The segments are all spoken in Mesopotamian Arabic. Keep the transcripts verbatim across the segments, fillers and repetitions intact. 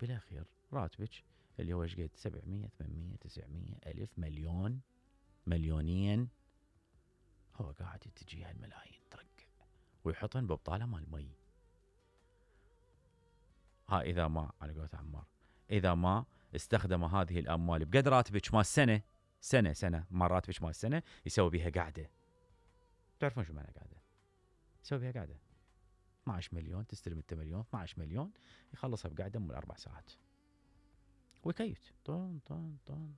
بالاخير راتبك اللي هو ايش قد سبعمية ثمانمية تسعمية الف مليون مليونين، هو قاعد تجي هالملايين ترقع ويحطن ببطاله مال مي. ها اذا ما على قولة عمار اذا ما استخدم هذه الاموال بقد راتبك مال سنه سنه سنه ما راتبك مال سنه يسوي بها قاعده. تعرفون شو معنى قاعده؟ يسوي بها قاعده اثني عشر مليون، تستلم انت مليون، اثني عشر مليون يخلصها بقاعده من اربع ساعات ويكيت طن طن طن.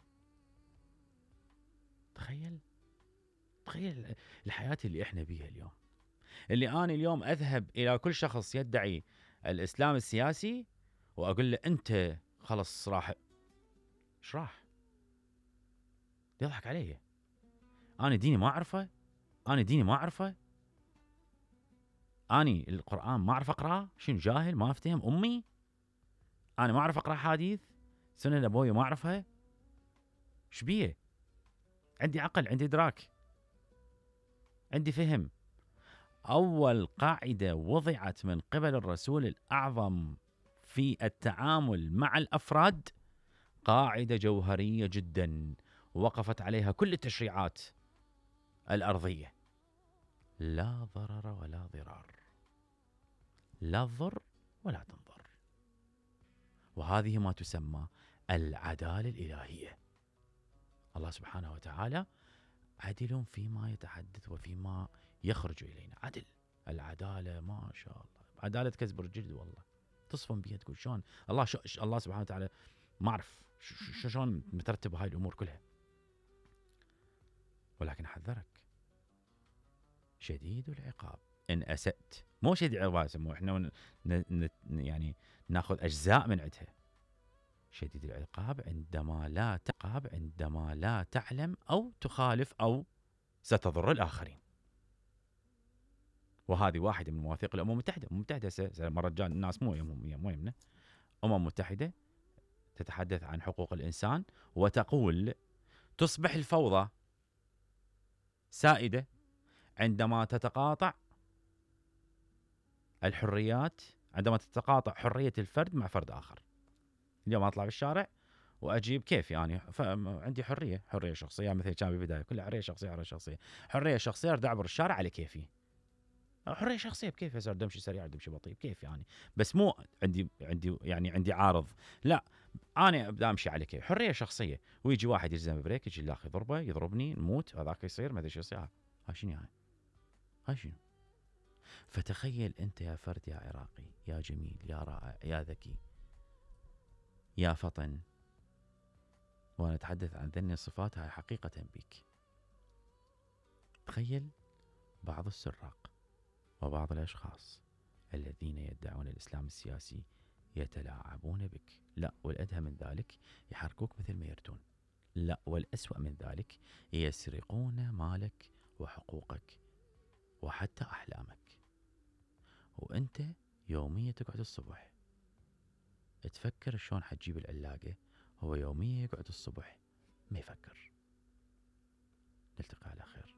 تخيل تخيل الحياه اللي احنا بيها اليوم، اللي انا اليوم اذهب الى كل شخص يدعي الاسلام السياسي واقول له انت خلص راح، ايش راح؟ يضحك علي. انا ديني ما اعرفه، انا ديني ما اعرفه، اني القرآن ما اعرف اقراه، شنو جاهل ما افتهم امي؟ انا ما اعرف اقرا حديث، سنن ابوي ما اعرفها، ايش بيه؟ عندي عقل، عندي ادراك، عندي فهم. اول قاعده وضعت من قبل الرسول الاعظم في التعامل مع الافراد قاعده جوهريه جدا وقفت عليها كل التشريعات الارضيه: لا ضرر ولا ضرار، لا تضر ولا تنضر. وهذه ما تسمى العداله الالهيه. الله سبحانه وتعالى عدل فيما يتحدث وفيما يخرج الينا، عدل. العداله ما شاء الله، عداله كسب الجلد والله. تصفن بيها تقول شلون الله شو الله سبحانه وتعالى ما اعرف شلون مترتب هاي الامور كلها. ولكن احذرك شديد العقاب ان اسأت، مو شديد العقاب مو احنا ن... ن... يعني ناخذ اجزاء من عندها. شديد العقاب عندما لا تعقاب عندما لا تعلم او تخالف او ستضر الاخرين. وهذه واحده من مواثيق الامم المتحده. الامم المتحده مره جان الناس مو يمهم مو يمنا. الامم المتحده تتحدث عن حقوق الانسان وتقول تصبح الفوضى سائده عندما تتقاطع الحريات، عندما تتقاطع حريه الفرد مع فرد اخر. اليوم اطلع بالشارع واجيب كيف يعني عندي حريه حريه شخصيه، مثل كان بالبدايه كلها حريه شخصيه حريه شخصيه حريه شخصيه ارد اعبر الشارع على كيفي. حريه شخصيه بكيف يصير دمشي سريع دمشي بطيء بكيف يعني، بس مو عندي عندي يعني عندي عارض، لا انا ابدا امشي على كيف. حريه شخصيه ويجي واحد يلزم بريك يجي الاخ يضربه يضربني نموت هذاك يصير ما ادري شو يصير. ها شنو يعني؟ ها شنو؟ فتخيل انت يا فرد يا عراقي يا جميل يا رائع يا ذكي يا فطن، وانا اتحدث عن ذني الصفات هاي حقيقه بك. تخيل بعض السراق وبعض الأشخاص الذين يدعون الإسلام السياسي يتلاعبون بك، لا والأدهى من ذلك يحركوك مثل ما يردون، لا والأسوأ من ذلك يسرقون مالك وحقوقك وحتى أحلامك. وأنت يوميا تقعد الصبح تفكر شلون حتجيب العلاقة، هو يوميا يقعد الصبح ما يفكر. نلتقي على خير.